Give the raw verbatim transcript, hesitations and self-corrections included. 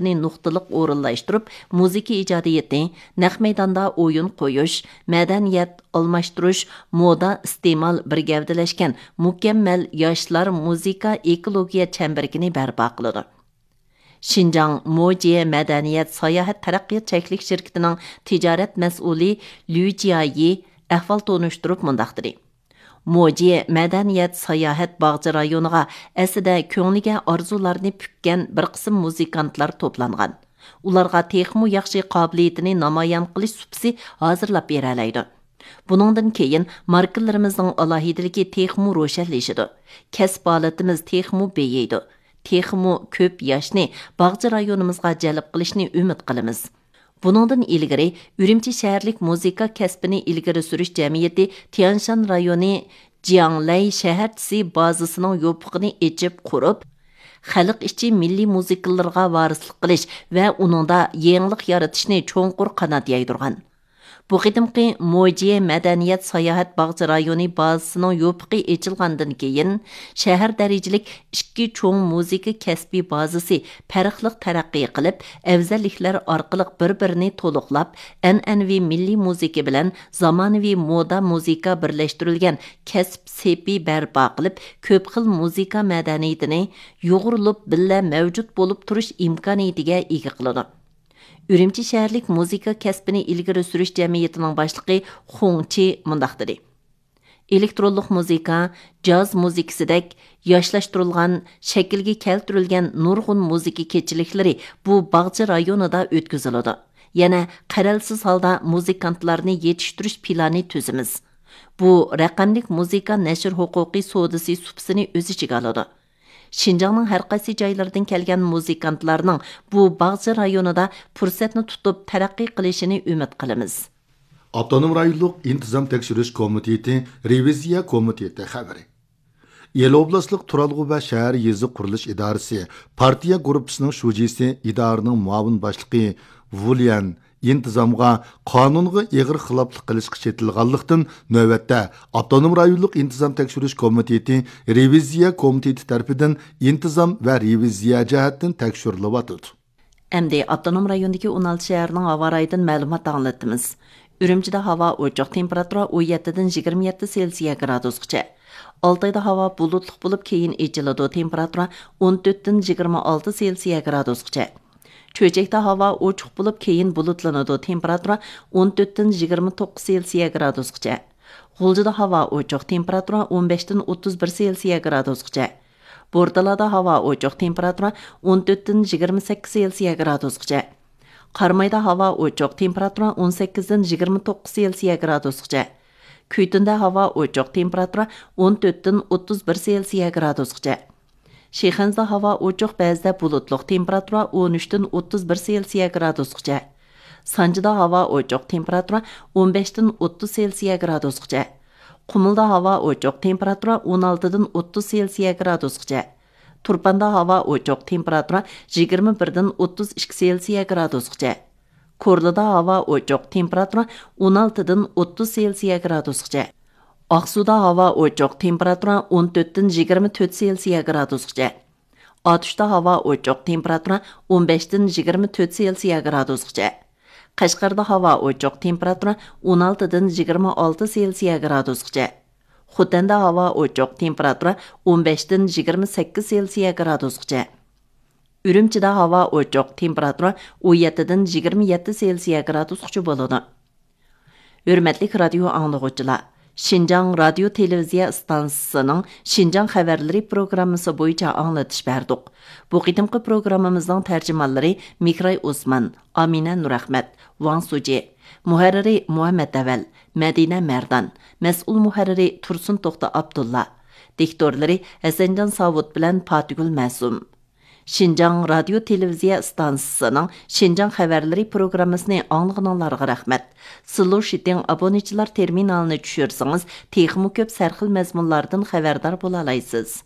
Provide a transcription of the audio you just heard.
نۇقتىلىق ئورۇنلاشتۇرۇپ، مۇزىكا ئىجادىيىتى، نەق مەيداندا ئويۇن قويۇش، مەدەنىيەت، ئالماشتۇرۇش، مودا، ئىستېمال بىر گەۋدىلەشكەن مۇكەممەل ياشلار مۇزىكا ئېكولوگىيە چەمبىرىكىنى بەرپا قىلىدۇ. شىنجاڭ موجيې مەدەنىيەت ساياھەت تەرەققىيات چەكلىك شىركىتىنىڭ تىجارەت مەسئۇلى لۈ جيايى ئەھۋال تونۇشتۇرۇپ مۇنداق دېدى: موجيې مەدەنىيەت ساياھەت باغچە رايونىغا ئەسلىدە كۆڭلىگە ئارزۇلارنى پۈككەن بىر قىسىم مۇزىكانتلار توپلانغان. ئۇلارغا تېخىمۇ ياخشى قابىلىيىتىنى نامايان قىلىش سۇپىسى ھازىرلاپ بېرەلەيدۇ. بۇنىڭدىن كېيىن ماركىلىرىمىزنىڭ ئالاھىدىلىكى تېخىمۇ روشەنلىشىدۇ. كەسىپ ھالىتىمىز تېخىمۇ بېيىيدۇ. تېخىمۇ كۆپ ياشنى باغچە رايونىمىزغا جەلپ قىلىشنى ئۈمىد قىلىمىز. بۇنىڭدىن ئىلگىرى ئۈرۈمچى شەھەرلىك مۇزىكا كەسپىنى ئىلگىرى سۈرۈش جەمئىيىتى تيەنشان رايونى جياڭلەي شەھەرچىسى بازىسىنىڭ يوپۇقىنى ئېچىپ قۇرۇپ، خەلق ئىچى مىللىي مۇزىكىلىرىغا ۋارىسلىق قىلىش ۋە ئۇنىڭدا يېڭىلىق يارىتىشنى چوڭقۇر قانات يايدۇرغان. بۇ قېتىمقى موجيې مەدەنىيەت ساياھەت باغچە رايونى بازىسىنىڭ يوپۇقى ئېچىلغاندىن كېيىن، شەھەر دەرىجىلىك ئىككى چوڭ مۇزىكا كەسپىي بازىسى پەرقلىق تەرەققىي قىلىپ، ئەۋزەللىكلەر ئارقىلىق بىر-بىرىنى تولۇقلاپ، ئەنئەنىۋى مىللىي مۇزىكا بىلەن زامانىۋى مودا مۇزىكا بىرلەشتۈرۈلگەن كەسىپ سېپى بەرپا قىلىپ، كۆپ خىل مۇزىكا مەدەنىيىتىنى يۇغۇرۇلۇپ بىللە مەۋجۇت بولۇپ تۇرۇش ئىمكانىيىتىگە ئىگە قىلىدۇ. ئۈرۈمچى شەھەرلىك مۇزىكا كەسپىنى ئىلگىرى سۈرۈش جەمئىيىتىنىڭ باشلىقى خۇڭ چى مۇنداق دېدى: ئېلېكترونلۇق مۇزىكا، جاز مۇزىكىسىدەك ياشلاشتۇرۇلغان، شەكىلگە كەلتۈرۈلگەن نۇرغۇن مۇزىكا كېچىلىكلىرى بۇ باغچە رايونىدا ئۆتكۈزۈلىدۇ. يەنە قەرەلسىز ھالدا مۇزىكانتلارنى يېتىشتۈرۈش پىلانى تۈزىمىز. بۇ رەقەملىك مۇزىكا نەشر ھوقۇقى سودىسى سۇپىسىنى ئۆز ئىچىگە ئالىدۇ. شىنجاڭنىڭ ھەر قايسى جايلىرىدىن كەلگەن مۇزىكانتلارنىڭ بۇ باغچە رايونىدا پۇرسەتنى تۇتۇپ تەرەققىي قىلىشىنى ئۈمىد قىلىمىز. ئاپتونوم رايونلۇق ئىنتىزام تەكشۈرۈش كومىتېتى رېۋىزىيە كومىتېتى خەۋىرى. ئىلى ئوبلاستلىق تۇرالغۇ ۋە شەھەر يېزا قۇرۇلۇش ئىدارىسى پارتىيە گۇرۇپپىسىنىڭ شۇجىسى، ئىدارىنىڭ مۇئاۋىن باشلىقى ۋۇ ليەن ئىنتىزامغا قانۇنغا ئېغىر خىلاپلىق قىلىشقا چېتىلغانلىقتىن، نۆۋەتتە ئاپتونوم رايونلۇق ئىنتىزام تەكشۈرۈش كومىتېتى رېۋىزىيە كومىتېتى تەرىپىدىن ئىنتىزام ۋە رېۋىزىيە جەھەتتىن تەكشۈرۈلۈۋاتىدۇ. ئەمدى ئاپتونوم رايوندىكى ئون ئالتە شەھەرنىڭ ھاۋا رايىدىن مەلۇمات ئاڭلىتىمىز. ئۈرۈمچىدە ھاۋا ئوچۇق، تېمپېراتۇرا ئون يەتتىدىن يىگىرمە يەتتە سېلسىيە گرادۇسقىچە. ئالتايدا ھاۋا بۇلۇتلۇق بولۇپ، كېيىن ئېچىلىدۇ، تېمپېراتۇرا ئون تۆتتىن يىگىرمە ئالتە سېلسىيە گرادۇسقىچە. چۆچەكتە ھاۋا ئوچۇق بولۇپ، كېيىن بۇلۇتلىنىدۇ، تېمپېراتۇرا ئون تۆتتىن يىگىرمە توققۇز سېلسىيە گرادۇسقىچە. غۇلجىدا ھاۋا ئوچۇق، تېمپېراتۇرا ئون بەشتىن ئوتتۇز بىر سېلسىيە گرادۇسقىچە. بورتالادا ھاۋا ئوچۇق، تېمپېراتۇرا ئون تۆتتىن يىگىرمە سەككىز سېلسىيە گرادۇسقىچە. قارامايدا ھاۋا ئوچۇق، تېمپېراتۇرا ئون سەككىزدىن يىگىرمە توققۇز سېلسىيە گرادۇسقىچە. كۈيتۈندە ھاۋا ئوچۇق، تېمپېراتۇرا ئون تۆتتىن ئوتتۇز بىر سېلسىيە گرادۇسقىچە. شىخەنزىدە ھاۋا ئوچۇق، بەزىدە بۇلۇتلۇق، تېمپېراتۇرا ئون ئۈچتىن ئوتتۇز بىر سېلسىيە گرادۇسقىچە. سانجىدا ھاۋا ئوچۇق، تېمپېراتۇرا ئون بەشتىن ئوتتۇز سېلسىيە گرادۇسقىچە. قۇمۇلدا ھاۋا ئوچۇق، تېمپېراتۇرا ئون ئالتىدىن ئوتتۇز سېلسىيە گرادۇسقىچە. تۇرپاندا ھاۋا ئوچۇق، تېمپېراتۇرا يىگىرمە بىردىن ئوتتۇز ئىككى سېلسىيە گرادۇسقىچە. كورلىدا ھاۋا ئوچۇق، تېمپېراتۇرا ئون ئالتىدىن ئوتتۇز سېلسىيە گرادۇسقىچە. ئاقسۇدا ھاۋا ئوچۇق، تېمپېراتۇرا ئون تۆتتىن يىگىرمە تۆت سېلسىيە گرادۇسقىچە. ئاتۇشتا ھاۋا ئوچۇق، تېمپېراتۇرا ئون بەشتىن يىگىرمە تۆت سېلسىيە گرادۇسقىچە. قەشقەردە ھاۋا ئوچۇق، تېمپېراتۇرا ئون ئالتىدىن يىگىرمە ئالتە سېلسىيە گرادۇسقىچە. خوتەندە ھاۋا ئوچۇق، تېمپېراتۇرا ئون بەشتىن يىگىرمە سەككىز سېلسىيە گرادۇسقىچە. ئۈرۈمچىدە ھاۋا ئوچۇق، تېمپېراتۇرا ئون يەتتىدىن يىگىرمە يەتتە سېلسىيە گرادۇسقىچە بولىدۇ. ھۆرمەتلىك رادىيو ئاڭلىغۇچىلار، شىنجاڭ رادىيو تېلېۋىزىيە ئىستانسىسىنىڭ شىنجاڭ خەۋەرلىرى پروگراممىسى بويىچە ئاڭلىتىش بەردۇق. بۇ قېتىمقى پروگراممىمىزنىڭ تەرجىمانلىرى مىكراي ئوسمان، ئامىنە نۇرئەخمەت، ۋاڭ سۇجى، مۇھەررىرى مۇھەممەت ئەۋەل، مەدىنە مەردان، مەسئۇل مۇھەررىرى تۇرسۇن توختى ئابدۇللا، دىكتورلىرى ھەسەنجان ساۋۇت بىلەن پاتىگۈل مەسۇم. شىنجاڭ رادىيو تېلېۋىزىيە ئىستانسىسىنىڭ شىنجاڭ خەۋەرلىرى پروگراممىسىنى ئاڭلىغىنىڭلارغا رەھمەت. سىلۇشىتىڭ ئابونېنتچىلار تېرمىنالىنى چۈشۈرسىڭىز، تېخىمۇ كۆپ سەرخىل مەزمۇنلاردىن خەۋەردار بولالايسىز.